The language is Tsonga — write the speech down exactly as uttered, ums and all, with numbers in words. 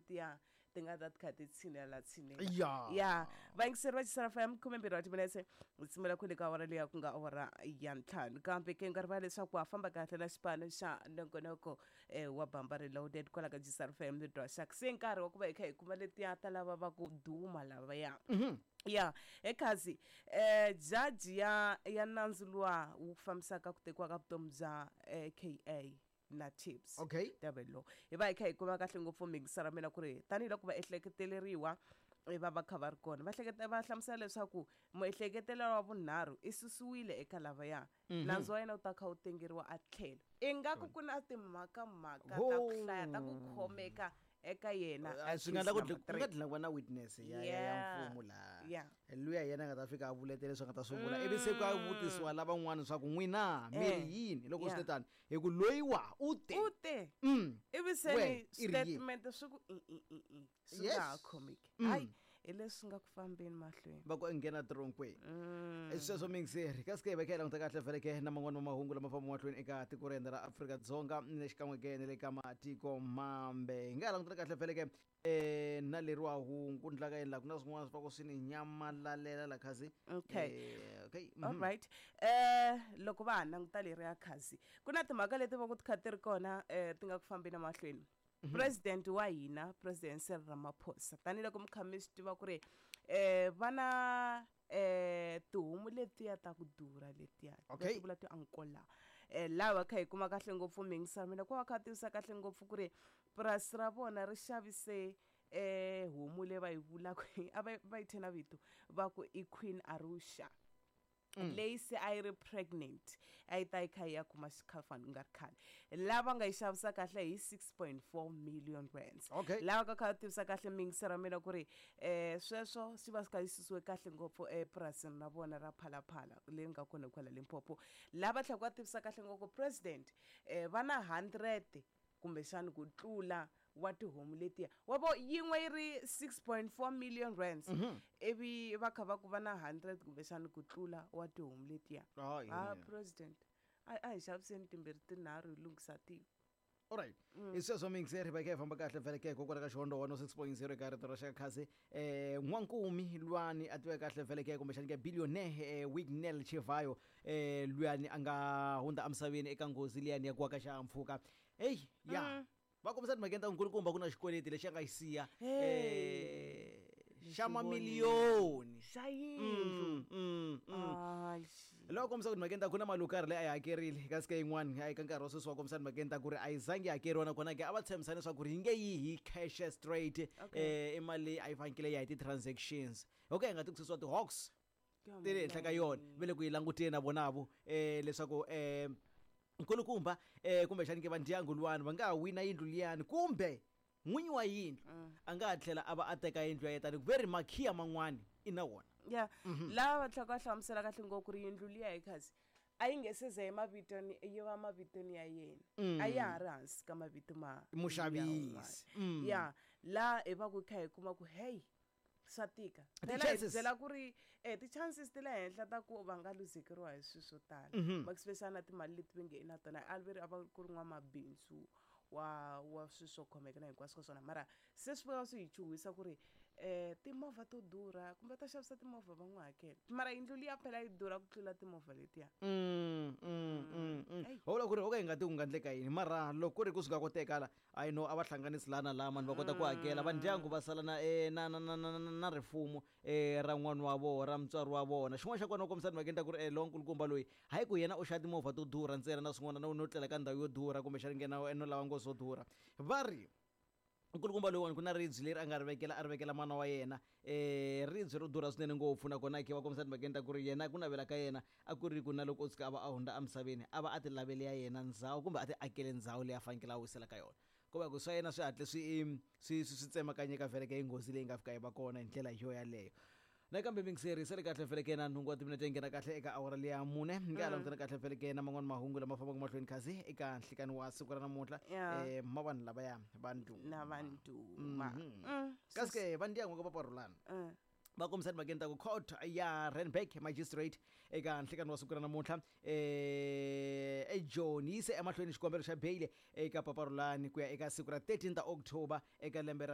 letiya ti nga ta ti kha ti tshinela tshinela. Ya. Ya, vayingiseri va Xisara F M, khume mbirhi wa timinetse u tshimela kwele ka awara leya ku nga awara ya ntlhanu. Kambe ke nga rivala leswaku wa famba kahle na xipano xa nongonoko eh, wa Bamba Reloaded kwala ka Xisara F M ni Dwaxak. Se nkarhi wa ku va hi kha hi kuma letiya ta lava va ku duma lavaya. Ya, ekhazi eh judge ya ya nandzu luwa wu fambisaka ku tekiwa ka vutomi bya eh, K A na Chips Okay. Tebello, hi va hi kha hi kuma kahle ngopfu mixara mina ku ri tanihiloko va ehleketeleriwa eh, va va kha va ri kona va hleketa va hlamusela leswaku muehleketeleriwa wa vunharhu i susiwile eka lavaya, nandzu wa yena wu ta kha wu tengeriwa a tlhelo. Ingaku ku na timhakamhaka ta ku hlaya ta ku khomeka eka yena. Ah, swi nga endla ku accused number ku nga three. dlina ku va na witness ya ya ya Yeah. mfumo laha Yeah. luya yena a nga ta fika a vuletela leswi a nga ta swi vula, ivi se ku a vutisiwa lavan'wana swa ku n'wina mi ri Eh. yini loko swi Yeah. te tani hi ku loyiwa u te U te Mm. ivi se We, ni i ri yini? statement swi ku i i i i swi Yes. nga ha khomeki. Mm. Hayi, hi leswi nga ku fambeni mahlweni. Va ku nghena tronkweni sweswo mingiseri. Kasi ke hi va kha hi languta kahle vhele ke na man'wani ma mahungu lama famba mahlweni eka tiko ra hina ra Afrika-Dzonga ni xikan'we ke na le ka matiko mambe. Hi nga ha langutela kahle vhele ke um na leriwa hungu ku ndlaka yini laha ku na swin'wana swi va ku swi ni nyamalalela la khazi. Okay. Eh, okay mhm. Alright, eh loko va ha languta leriya khazi, ku na timhaka leti va ku ti kha ti ri kona eh ti nga ku fambeni mahlweni. President wa hina, President Cyril Ramaphosa, tanihiloko mi kha mi swi tiva ku ri eh va na eh tihomu letiya ta ku durha letiya Okay. va ti vula ti-Ankole. eh laha kha hi kuma kahle ngopfu mingisa mina ku va kha tivisa kahle ngopfu ku ri purasi ra vona ri xavise eh homu leyi va yi vulaka, a va va yi thye na vito va ku i Queen Arusha, leyi se a yi ri pregnant, a yi ta yi kha yi ya kuma xikhafani ku nga ri khale, lava nga yi xavisa kahle hi six point four million rands. Okay. Lava ka kha va tivisa kahle mingisa ra mina ku ri um sweswo swi va swi kha yi susiwe kahle ngopfu epurasini ra vona ra Phalaphala leyi nga kona kwala Limpopo. Lava tlhela va tivisa kahle ngopfu president um va na hundred kumbexani ku tlula wa tihomu letiya wa vo yin'we yi ri six point four million rands, ivi va kha va ku va na hundred kumbexani ku tlula wa tihomu letiya. Hayi, Ah, yeah. president, a a hi xaviseni timbirhi tinharhu hi lunghisa tiko. Alright, hi sweswo mingiseri, va kha hi famba kahle vhele ke kokwala ka Xihondo one oh six point zero eka rito ra xaka khasi. um n'wankumi lwani a tiveka kahle vhele ke kumbexani ke billionaire eh, Wicknell Chivayo, um luyani a nga hundza emisaveni eka nghozi liyani ya ku wa ka xihahampfhuka. Eyi ya, va kombisa timhakeni ta nkulukumba ku na xikweleti lexi a nga xi siya Hey. eh, xa mamiliyoni xa yindlu. Mm, mm, mm. Ai, xi. Loko kombisa ku timhakeni ta ku na mali yo karhi leyi a yi hakerile, kasi ke yin'wani a eka nkarhi wa sweswi wa kombisa timhakeni ta ku ri a yi zangi yi hakeriwa, nakona ke a va tshembisana leswaku ri yi nge yi hi cash straight. Okay. eh i mali leyi a yi fanekele yi ya hi ti-transactions, okay, hi nga ti ku susiwa ti-hawks ti le henhla ka yona. Va le ku yi languteni na vonavo um leswaku um nkulukumba um kumbexani ke va ndyangu luwani va nga ha wina yindlu liyani, kumbe n'winyi wa yindlu a nga ha tlhela a va a teka yindlu ya yena, tani ve ri makhiya man'wani i na wona. Ya, lava va tlhela va hlamusela kahle ngopfu ku ri yindlu liya hi khazi a yi nge se za yi mavitoni yi va mavitoni ya yena, a ya ha ri hansi ka mavito ma Muxavisi. ya un'wana. Ya, laha hi va ku kha hi kuma ku hey, swa tika phela hi Ti-chances. byela ku ri eh ti-chances ti le henhla ta ku va nga luzekeriwa hi swilo swo tala, especially na timali leti va nge i na tona. A ve ri a va ku ri n'wamabindzu wa wa swilo swo khomeka na hinkwaswo ka swona, mara se swi va swi hi chuhisa ku ri um timovha to durha kumbe ta xavisa timovha va n'wi hakela, mara yindlu liya phela yi durha ku tlula timovha letiya. Mm, mm, mm, mm. Ey. Ho vula ku ri okay, hi nga ti ku nga endleka yini, mara loko ku ri ku swi nga koteka la, I know a va hlanganisi laha na laha mani va kota ku hakela va ndyangu va sala na eh, na na na na na na rifumo eh, ra n'wana wa vona, ra mutswari wa vona. Xin'wana xa kona u kombisa timhakeni ta ku ri eh, lonkulukumba loyi hayi ku yena u xava timovha to durha ntsena na swin'wana no no tlela ka ndhawu yo durha kumbexani nghena no lava nghozi yo durha. Va ri nkulukumba loyiwani ku na ribye leri a nga ri vekela, a ri vekela mana wa yena, um ribye ro durha swinene ngopfu, nakona ke va kombisa timhakeni ta ku ri yena ku navela ka yena a ku ri ku na loko o tshuka a va a hundza emisaveni a va a ti lavele ya yena ndhawu kumbe a ti akele ndhawu leyi a fanekele a wisela ka yona, ko va ku swa yena swi hatle swi swi swi swi tsemakanyeka vhele ka hi nghozi leyi nga fika yi va kona hi ndlela yo yaleyo. Nakambe mingiseri sale kahle vhele ke na nhungu wa timinete yi nghena kahle eka awara leya mune. Ni nga ha langutana kahle vhele ke na man'wani mahungu lama fambaka mahlweni khasi eka nhlikani wa siku ra namuntlha. Yeah. eh ma vanhu lavaya va ndhuma. Na va ndhuma. Mm, kasi ke va ndyangu ka paparulana Mm. va kombisa timhakeni ta ku court ya Randburg magistrate eka nhlikani wa siku ra namuntlha eh ejoni yi yise emahlweni xikombelo xa beyile eka Paparulani ku ya eka siku ra thirteen ta October eka lembe ra